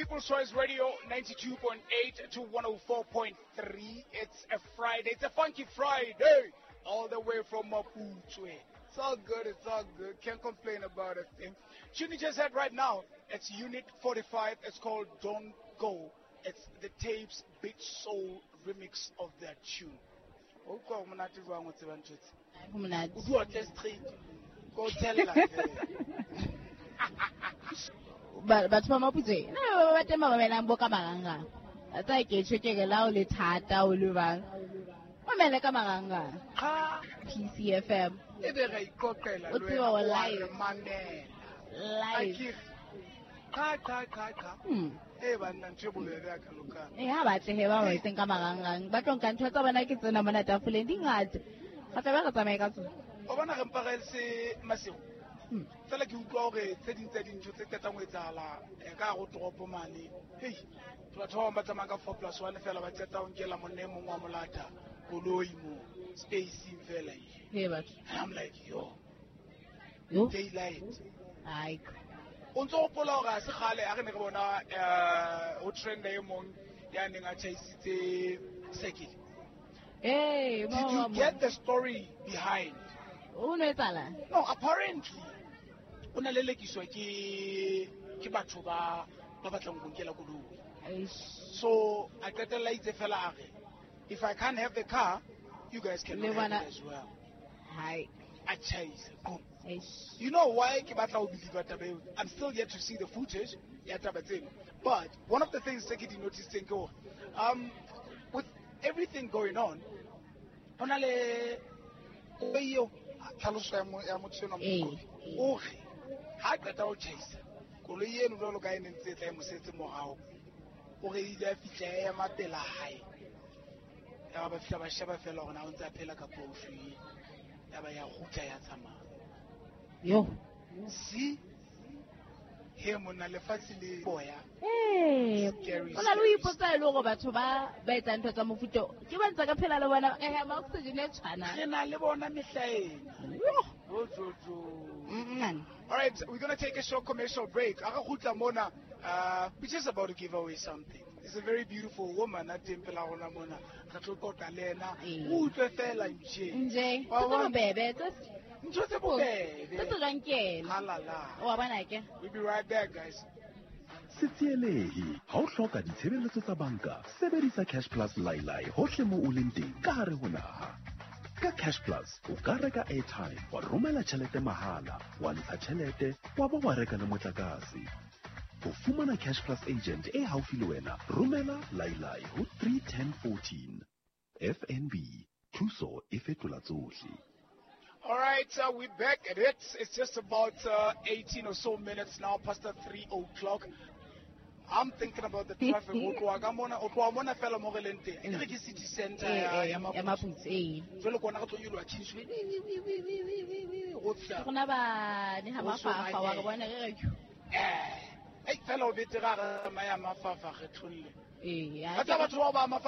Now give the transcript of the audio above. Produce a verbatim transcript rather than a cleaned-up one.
People's Choice Radio ninety-two point eight to one oh four point three. It's a Friday. It's a funky Friday. All the way from Mapuche. It's all good. It's all good. Can't complain about it. Tune you just heard right now. It's Unit forty-five. It's called Don't Go. It's the Tapes Big Soul remix of that tune. O utlwa ho monate jwang o tseba ntho tse? Ho monate. O di otle straight. Go tell la. Ba batho ba Maputswe na ba teng ba mamelang bo ka marangrang. A tsa ke tjho ke re la o le thata o le bang. Mamele ka marangrang. Ha P C F M. E be re iqoqela O le tseba wena, wa wa live. re mamela. Live. Cha cha cha cha. Hmm. E banna ntho e bobebe ya ka lokang. Eh ha batle he ba ba etseng ka marangrang. Ba tlo nka ntho tsa bona ke tsena mona tafoleng di ngata. Ba tla ba re tsamaye ka tsona. O bona re mpa re se Masego. Hmm. Fela ke utlwa hore tse ding tsa dintho tse qetang ho etsahala, eh, ka hare ho toropo mane. Hei, batho ba bang ba tsamaya ka four plus one fela ba qeta ho nkela monna e mong wa molata koloi mo spacing fela e. He batho. And I'm like, yo. Yo. Daylight. Ai. O ntso hopola hore ha se kgale ha re ne re bona, eh, ho trenda e mong ya neng a tjhaisitse circuit. Hey, Did mo, you mo, mo. get the story behind? O no etsahala? No, apparently o na lelekiswa ke, ke batho ba, ba batlang ho nkela koloi. Eish. So a qetella itse fela a re, if I can't have the car, you guys can Le have bona it as well. Hai. A tjhaisa, boom. Eish. You know why ke batla ho believe taba eo? I'm still yet to see the footage ya taba tseno. But one of the things tse ke di noticing ke hore, um, with everything going on, ho na le koloi eo, tlhaloso ya mo-, ya motho enwa Ee. Mokopi, o re ha qeta ho tjhaisa koloi eno jwalo ka e ne ntse e tla e mo setse morao, o re ile a fihla ya ema pela hae. Ya ba fihla ba sheba fela hore na o ntse a phela kapa o shwele. Ya ba ya kgutla ya tsamaya. Yo. See? He monna lefatshe le boya. Eh, Scary, o na le ho scary. ipotsa e le hore batho ba, ba etsang ntho tsa mofuta o, ke ba ntse ka phela le bona, re hema oxygen e tshwanang. Re na le bona mehla ena. Yo. Jo, jo, jo. Mm-mm. All right, we're gonna take a short commercial break. A re kgutla mona, uh, we're just about to give away something. It's a very beautiful woman a teng pela rona mona. Re tlo qoqa le ena. Ee. O utlwe fela nje. Nje. Wa Tse tse bona? bobebe, tse Ntho tse bobebe. Tse tsejwang ke ena. Halala. Wa bona ke? We'll be right back, guys. Se tsielehe ha o hloka ditshebeletso tsa banka, sebedisa Cash Plus Lailai hohle moo o leng teng ka hare ho naha. Ka Cash Plus o ka reka airtime, wa romela tjhelete mahala, wa ntsha tjhelete, wa ba wa reka le motlakase. Ho fumana Cash Plus agent e haufi le wena, romela Lailai ho three ten fourteen. F N B, thuso e fetola tsohle. All right, uh, we're back at it. It's just about, uh, eighteen or so minutes now, past the three o'clock. I'm thinking about the traffic. O tloha ka mona, o tloha mona fela mo re leng teng. Ke re ke city center Eh, ya, eh, ya ya Maputswe. Maputswe, eh. Jwale ke ona re tlo nyoloha Kingsway. Wi, wi, wi, wi, wi, wi, wi, wi, ho fihla. Rona ba ne ha Ho mafafa, wa re Songanyana. bona re re phew. Eh, ei, fela o betere ha re tsamaya mafafa re tholle. Eh, ya Ba tsa ke batho bao ba mafafa